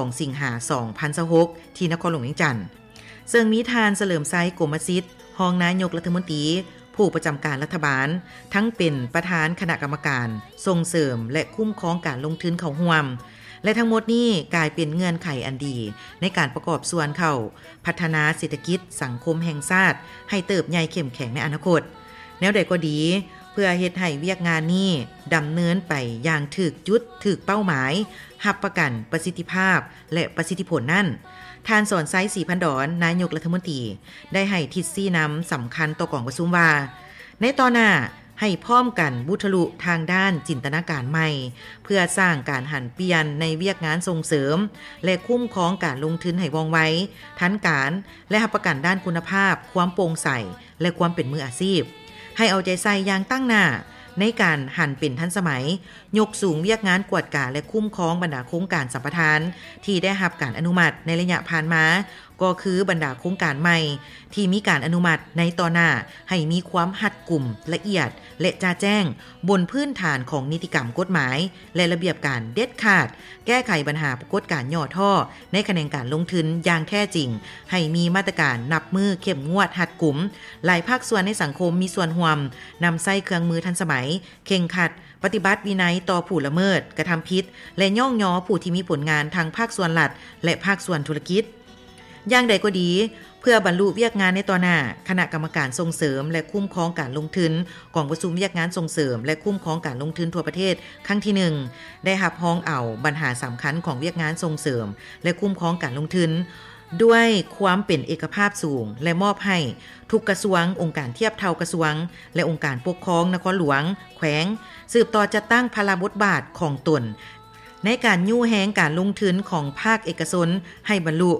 ສອງ ສິງຫາ ສອງພັນຊາວຫົກ ທີ່ນະຄອນຫຼວງວຽງຈັນ, ເຊິ່ງມີທ່ານ ສະເຫຼີມໄຊ ກົມມະສິດ ຮອງນາຍົກລັດຖະມົນຕີ ຜູ້ປະຈຳການລັດຖະບານ, ທັງເປັນປະທານຄະນະກຳມະການສົ່ງເສີມ ແລະ ຄຸ້ມຄອງການລົງທຶນເຂົ້າຮ່ວມ ແລະ ທັງໝົດນີ້ກາຍເປັນເງື່ອນໄຂອັນດີໃນການປະກອບສ່ວນເຂົ້າພັດທະນາເສດຖະກິດສັງຄົມແຫ່ງຊາດໃຫ້ເຕີບໃຫຍ່ເຂັ້ມແຂງໃນອະນາຄົດ. ແນວໃດກໍດີ, ເພື່ອເຮັດໃຫ້ວຽກງານນີ້ດຳເນີນໄປຢ່າງຖືກຈຸດ, ຖືກເປົ້າໝາຍ, ຮັບປະກັນປະສິດທິພາບ ແລະ ປະສິດທິຜົນນັ້ນ, ທ່ານ ສອນໄຊ ສີພັນດອນ ນາຍົກລັດຖະມົນຕີ ໄດ້ໃຫ້ທິດຊີ້ນຳສຳຄັນຕໍ່ກອງປະຊຸມວ່າ, ໃນຕໍ່ໜ້າໃຫ້ພ້ອມກັນບຸດທະລຸທາງດ້ານຈິນຕະນາການໃໝ່ ເພື່ອສ້າງການຫັນປ່ຽນໃນວຽກງານສົ່ງເສີມ ແລະ ຄຸ້ມຄອງການລົງທຶນໃຫ້ວ່ອງໄວ, ທັນການ ແລະ ຮັບປະກັນດ້ານຄຸນນະພາບ, ຄວາມໂປ່ງໃສ ແລະ ຄວາມເປັນມືອາຊີບ. ໃຫ້ເອົາໃຈໃສ່ຢ່າງຕັ້ງໜ້າໃນການຫັນເປັນທັນສະໄໝ, ຍົກສູງວຽກງານກວດກາ ແລະ ຄຸ້ມຄອງບັນດາໂຄງການສຳປະທານທີ່ໄດ້ຮັບການອະນຸມັດໃນໄລຍະຜ່ານມາ, ກໍຄືບັນດາໂຄງການໃໝ່ທີ່ມີການອະນຸມັດໃນຕໍ່ໜ້າ ໃຫ້ມີຄວາມຮັດກຸມ, ລະອຽດ ແລະ ຈະແຈ້ງ ບົນພື້ນຖານຂອງນິຕິກຳ, ກົດໝາຍ ແລະ ລະບຽບການເດັດຂາດ, ແກ້ໄຂບັນຫາປາກົດການຫຍໍ້ທໍ້ໃນຂະແໜງການລົງທຶນຢ່າງແທ້ຈິງ, ໃຫ້ມີມາດຕະການນັບມື້ເຂັ້ມງວດຮັດກຸມ, ຫຼາຍພາກສ່ວນໃນສັງຄົມມີສ່ວນຮ່ວມ, ນຳໃຊ້ເຄື່ອງມືທັນສະໄໝ, ເຄັ່ງຄັດ, ປະຕິບັດວິໄນຕໍ່ຜູ້ລະເມີດ, ກະທຳຜິດ ແລະ ຍ້ອງຍໍຜູ້ທີ່ມີຜົນງານທັງພາກສ່ວນລັດ ແລະ ພາກສ່ວນທຸລະກິດ. ຢ່າງໃດກໍດີ, ເພື່ອບັນລຸວຽກງານໃນຕໍ່ໜ້າ, ຄະນະກຳມະການສົ່ງເສີມ ແລະ ຄຸ້ມຄອງການລົງທຶນ ກອງປະຊຸມວຽກງານສົ່ງເສີມ ແລະ ຄຸ້ມຄອງການລົງທຶນທົ່ວປະເທດຄັ້ງທີໜຶ່ງ ໄດ້ຮັບຮອງເອົາບັນຫາສຳຄັນຂອງວຽກງານສົ່ງເສີມ ແລະ ຄຸ້ມຄອງການລົງທຶນ ດ້ວຍຄວາມເປັນເອກະພາບສູງ ແລະ ມອບໃຫ້ທຸກກະຊວງ, ອົງການທຽບເທົ່າກະຊວງ ແລະ ອົງການປົກຄອງນະຄອນຫຼວງ, ແຂວງ ສືບຕໍ່ຈັດຕັ້ງພາລະບົດບາດຂອງຕົນ ໃນການຍູ້ແຮງການລົງທຶນຂອງພາກເອກະຊົນໃຫ້ບັນລຸ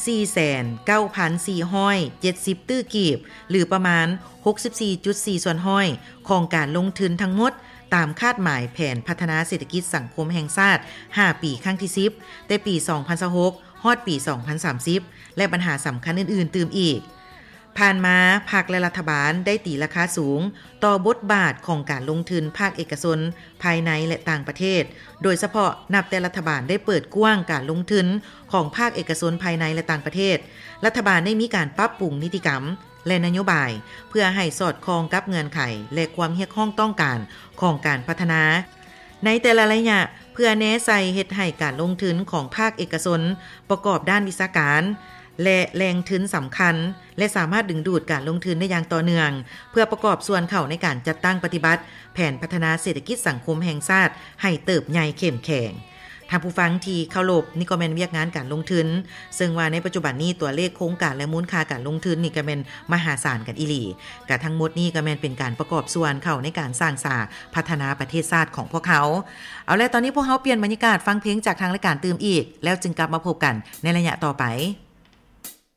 ສີ່ແສນເກົ້າພັນສີ່ຮ້ອຍເຈັດສິບຕື້ກີບ ຫຼື ປະມານຫົກສິບສີ່ຈຸດສີ່ສ່ວນຮ້ອຍຂອງການລົງທຶນທັງໝົດ ຕາມຄາດໝາຍແຜນພັດທະນາເສດຖະກິດສັງຄົມແຫ່ງຊາດຫ້າປີຄັ້ງທີສິບ ແຕ່ປີສອງພັນຊາວຫົກ ຮອດປີສອງພັນສາມສິບ ແລະ ບັນຫາສຳຄັນອື່ນໆຕື່ມອີກ. ຜ່ານມາ, ພັກ ແລະ ລັດຖະບານໄດ້ຕີລາຄາສູງຕໍ່ບົດບາດຂອງການລົງທຶນພາກເອກະຊົນພາຍໃນ ແລະ ຕ່າງປະເທດ, ໂດຍສະເພາະນັບແຕ່ລັດຖະບານໄດ້ເປີດກວ້າງການລົງທຶນຂອງພາກເອກະຊົນພາຍໃນ ແລະ ຕ່າງປະເທດ, ລັດຖະບານໄດ້ມີການປັບປຸງນິຕິກຳ ແລະ ນະໂຍບາຍ ເພື່ອໃຫ້ສອດຄ່ອງກັບເງື່ອນໄຂ ແລະ ຄວາມຮຽກຮ້ອງຕ້ອງການຂອງການພັດທະນາ ໃນແຕ່ລະໄລຍະ ເພື່ອແນໃສ່ເຮັດໃຫ້ການລົງທຶນຂອງພາກເອກະຊົນປະກອບດ້ານວິຊາການ ແລະ ແຫຼ່ງທຶນສຳຄັນ ແລະ ສາມາດດຶງດູດການລົງທຶນໄດ້ຢ່າງຕໍ່ເນື່ອງ ເພື່ອປະກອບສ່ວນເຂົ້າໃນການຈັດຕັ້ງປະຕິບັດແຜນພັດທະນາເສດຖະກິດສັງຄົມແຫ່ງຊາດໃຫ້ເຕີບໃຫຍ່ເຂັ້ມແຂງ. ທ່ານຜູ້ຟັງທີ່ເຄົາລົບ, ນີ້ກໍແມ່ນວຽກງານການລົງທຶນ, ເຊິ່ງວ່າໃນປັດຈຸບັນນີ້ຕົວເລກໂຄງການ ແລະ ມູນຄ່າການລົງທຶນນີ້ກໍແມ່ນມະຫາສານກັນອີ່ຫຼີ. ກະທັງໝົດນີ້ກໍແມ່ນເປັນການປະກອບສ່ວນເຂົ້າໃນການສ້າງສາພັດທະນາປະເທດຊາດຂອງພວກເຮົາ. ເອົາແລະ ຕອນນີ້ພວກເຮົາປ່ຽນບັນຍາກາດຟັງເພງຈາກທາງລາຍການຕື່ມອີກ, ແລ້ວຈຶ່ງກັບມາພົບກັນໃນໄລຍະຕໍ່ໄປ.